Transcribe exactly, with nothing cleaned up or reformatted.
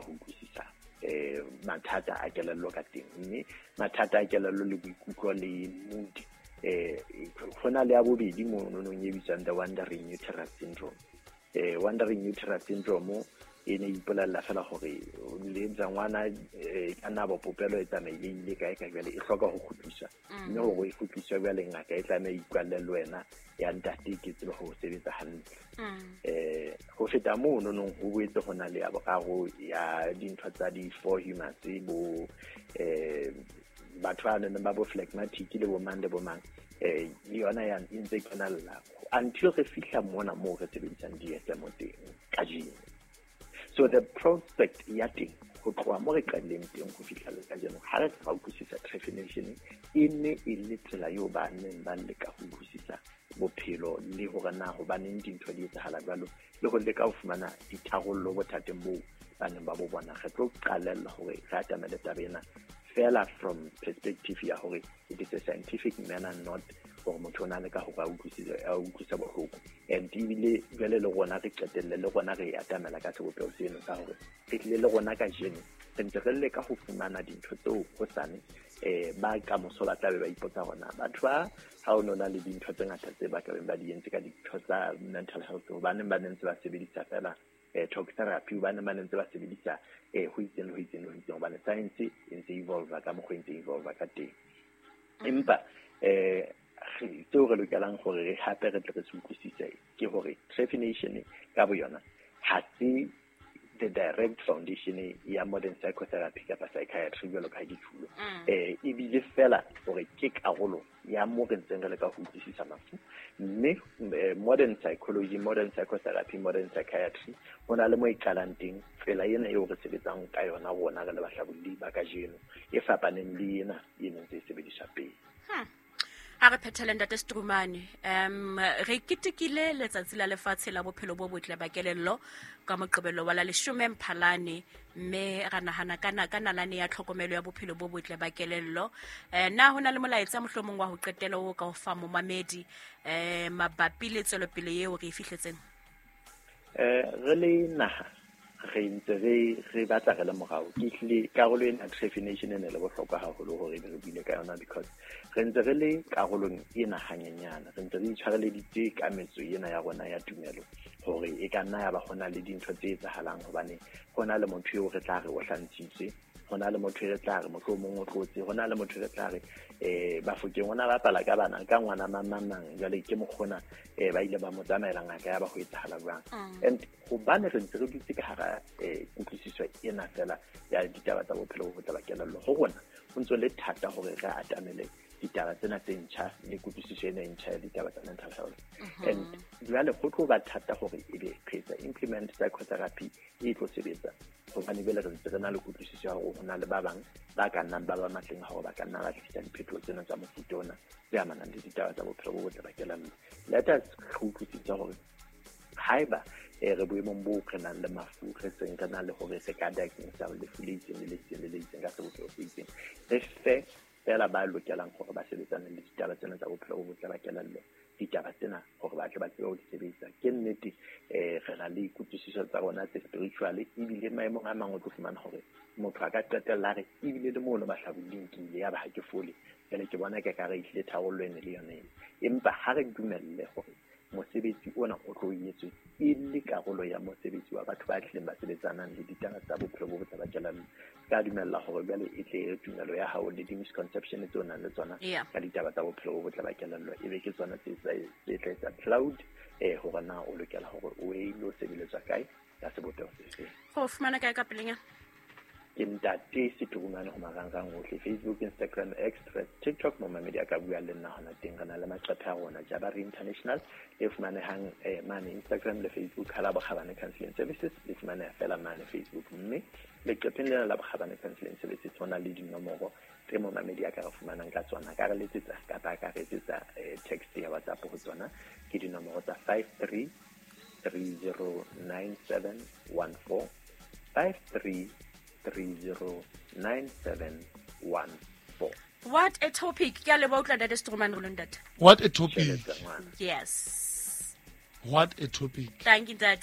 ho utlwisisa um mathata a kelello ka teng. Mme mathata a kelello le boikutlo le mood, um go na le ya bobedi mononong e bitswang the wandering uterus syndrome. um wandering uterus syndrome e ne ipolella fela gore le etsa ngwana e ka nna bo popelo e tsamaile ile kae ka jwale e hloka ho kgutliswa, mme hore e kgutliswe jwale ngaka e tlameha ikwalle le wena ya ntate ke tsebe ho sebetsa hantle. Eh ho feta moo nonong ho boetse ho na le ya boraro ya dintho tsa di-four humors, bo eh batho ba neng ba bo phlegmatic le bo mang le bo mang, eh le yona ya e ntse kenella until re fihla mona moo re sebedisang D S M teng kajeno. So the prospect ya teng ho tloha mo re qadileng teng ho fihla le kajeno, ha re ka utlwisisa trephination e ne e le tsela eo ba neng ba leka ho utlwisisa bophelo le hore na hobaneng dintho di etsahala jwalo, le ho leka ho fumana ditharollo bothateng boo ba neng ba bo bona. Re tlo qalella hore re atamele taba ena fela from perspective ya hore it is a scientific manner, not hore motho o na le ka hore a utlwisise a utlwisa bohloko. And ebile jwale le rona re qetelle le rona re atamela ka sebopeho seno sa hore re tlile le rona kajeno re ntse re leka ho fumana dintho tseo hosane eh ba kamoso ba tla be ba ipotsa hore na batho ba ha o no na le dintho tse ngata tse ba ka beng ba di entse ka dintho tsa mental health, hobaneng ba ne ntse ba sebedisa fela eh talk therapy, hobaneng ba ne ntse ba sebedisa eh ho itseng le ho itseng le ho itseng, hobane science e ntse evolve ka mokgwa e ntse evolve ka teng. Empa eh tseo re lokelang hore re hape re tle re se utlwisise ke hore trephination ka boyona ha se the direct foundation ya modern psychotherapy kapa psychiatry jwalo ka ha ke tjhulo. Eh ebile fela hore ke karolo ya mo re ntseng re leka ho utlwisisa mafu. Mme modern psychology, modern psychotherapy, modern psychiatry ho na le mo e qalang teng. Tsela ena eo re sebetsang ka yona rona re le bahlabolli ba kajeno e fapaneng le ena e neng e sebediswa pele. Ha re phethele ntate Strumane, um re ketekile letsatsi la lefatshe la bophelo bo botle ba kelello ka Moqebelo wa la leshome Mphalane, mme ra nahana ka ka nalane ya tlhokomelo ya bophelo bo botle ba kelello. Eh na hona le molaetsa mohlomong wa ho qetela o ka o fa momamedi eh mabapi le tswelopele eo re e fihletseng? Eh re le naha re ntse re re batla re le morao. Ke hlile karolo ena trephination e ne le bohlokwa haholo hore re buile ka yona, because re ntse re le karolong ena hanyenyana, re ntse re itshwareleditse ka metso ena ya rona ya tumelo hore e ka nna ya ba hona le dintho tse etsahalang, hobane hona le motho eo re tla re o hlantshitswe, hona le motho re tla re mohlomong o tlotse, hona le motho re tla re eh Bafokeng ona bapala ka bana ka ngwana mang mang mang, jwale ke mokgona eh ba ile ba mo tsamaela ngaka ya ba ho etsahala jwang. And hobane re ntse re dutse ka hara eh kutlwisiso ena fela ya ditaba tsa bophelo bo botle ba kelello, ho rona ho ntso le thata hore re atamele ditaba tsena tse ntjha le kutlwisiso ena e ntjha ya ditaba tsa mental health. And jwale ho tlo ba thata hore ebe re etsa implement psychotherapy e tlo sebetsa, hobane jwale re ntse re na le kutlwisiso ya hore ho na le ba bang ba ka nnang ba ba matleng a hore ba ka nna ba tlisa diphetoho tsena tsa mofuta ona tse amanang le ditaba tsa bophelo bo botle ba kelello. Let us re utlwisise hore haeba re boemong boo re nang le mafu, re seng re na le hore re ka diagnose lefu le itseng le le itseng le le itseng ka sebopeho se itseng, re fe fela ba lokelang hore ba sebetsane le ditaba tsena tsa bophelo bo botle ba kelello, ditaba tsena hore ba tle ba tsebe ho di sebedisa. Ke nnete eh re na le kutlwisiso tsa rona tse spiritual, ebile maemong a mang o tlo fumana hore motho a ka qetella a re ebile le mono bahlabolling ke ile ya ba ha ke fole, jwale ke bona ke ka re ehlile tharollo ene le yona ena. Empa ha re dumelle hore mosebetsi ona o tlo etswe e le karolo ya mosebetsi wa batho ba tlileng ba sebetsanang le ditaba tsa bophelo bo botle ba kelello, ka dumella hore jwale e tle tumelo ya hao le di-misconception tseo o nang le tsona ka ditaba tsa bophelo bo botle ba kelello e be ke tsona tse tse tla etsa cloud eh hore na o lokela hore o e lo sebeletswa kae ka sebopeho se feng. Go fumana kae ka pelenyana? Ke ntate Seturumane ho marangrang ohle, Facebook, Instagram, X, TikTok, momamedi a ka bua le nna hona teng. Re na le maqephe a rona Jabari International e fumanehang eh, mane Instagram le Facebook, ha la Bokgabane Counseling Services e fumaneha fela mane Facebook. Mme leqepheng lena la Bokgabane Counseling Services ho na le dinomoro tse momamedi a ka re fumanang ka tsona, ka re letsetsa kapa a ka re etsetsa eh, text ya WhatsApp ho tsona. Ke dinomoro tsa five three three zero nine seven one four, five three three zero nine seven one four. What a topic. Ke a leboha utlwa ntate Strumane rolo ntate. What a topic. Yes. What a topic. Thank you, ntate.